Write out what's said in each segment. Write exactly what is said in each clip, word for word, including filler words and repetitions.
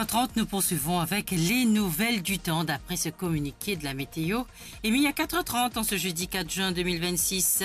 Trente, nous poursuivons avec les nouvelles du temps d'après ce communiqué de la météo émis à quatre heures trente en ce jeudi quatre juin deux mille vingt-six.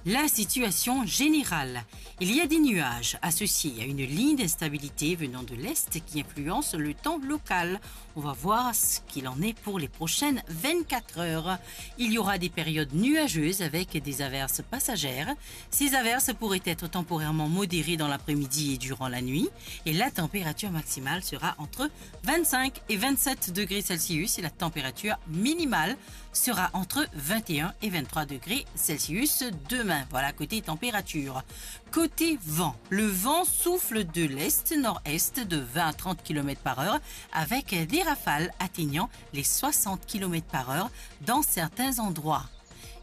La situation générale. Il y a des nuages associés à une ligne d'instabilité venant de l'est qui influence le temps local. On va voir ce qu'il en est pour les prochaines vingt-quatre heures. Il y aura des périodes nuageuses avec des averses passagères. Ces averses pourraient être temporairement modérées dans l'après-midi et durant la nuit. Et la température maximale sera entre vingt-cinq et vingt-sept degrés Celsius et la température minimale sera entre vingt et un et vingt-trois degrés Celsius demain. Voilà, côté température. Côté vent, le vent souffle de l'est-nord-est de vingt à trente kilomètres par heure avec des rafales atteignant les soixante kilomètres par heure dans certains endroits.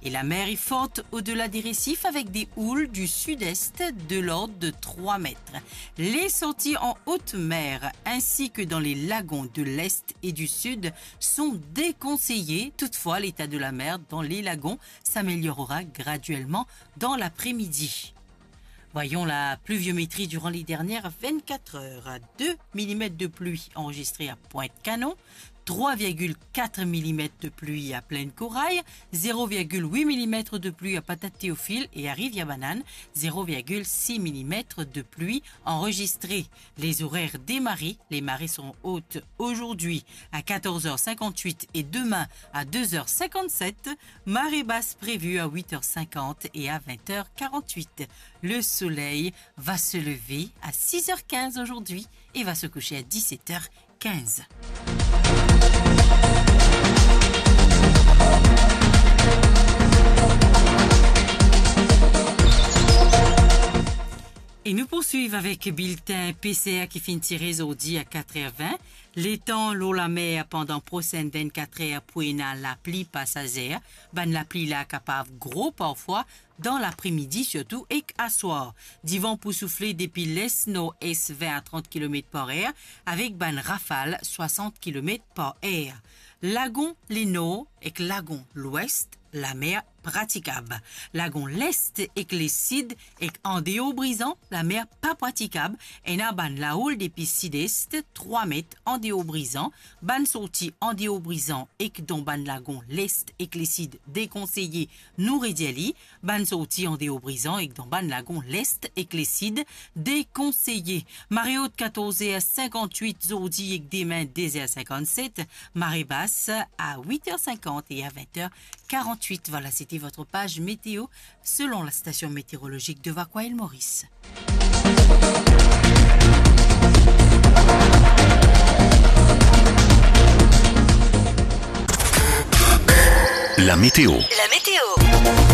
Et la mer est forte au-delà des récifs avec des houles du sud-est de l'ordre de trois mètres. Les sorties en haute mer ainsi que dans les lagons de l'est et du sud sont déconseillées. Toutefois, l'état de la mer dans les lagons s'améliorera graduellement dans l'après-midi. Voyons la pluviométrie durant les dernières vingt-quatre heures. Deux millimètres de pluie enregistrés à Pointe-Canon, trois virgule quatre millimètres de pluie à Plaine-Corail, zéro virgule huit millimètres de pluie à Patate-Théophile et à Rivière-Banane, zéro virgule six millimètres de pluie enregistrés. Les horaires des marées, les marées sont hautes aujourd'hui à quatorze heures cinquante-huit et demain à deux heures cinquante-sept. Marée basse prévue à huit heures cinquante et à vingt heures quarante-huit. Le soleil va se lever à six heures quinze aujourd'hui et va se coucher à dix-sept heures quinze. E nou poursuiv avek bilten PCR ki finn tire zordi a quatre er vin. Letan lor lamer pandan prosenn vinn-kat er pou ena lapli pasazer, bann lapli la kapav gro parfwa dan lapre-midi sirtou ek aswar. Divan pou soufle depi les nord-es vin a trant kilomet par er avek bann rafal swasant kilomet par er. Lagon lenor ek lagon lwes, lamer pratikab. Lagon lest ek lesid ek andeor Brizan, lamer pa pratikab. Ena bann laoul depi sid-es, trwa met andeor Brizan. Bann sorti andeor Brizan ek dan bann lagon lest ek lesid dekonseye, nou redir li. Bann sorti andeor Brizan ek dan bann lagon lest ek lesid dekonseye. Mare ot katorz er sinkant-wit zordi ek demin de zer sinkant-set. Mare bas a wit er sinkant e a vin er karant-wit. Voilà, c'était votre page météo selon la station météorologique de Vacoas Île Maurice. La météo. La météo.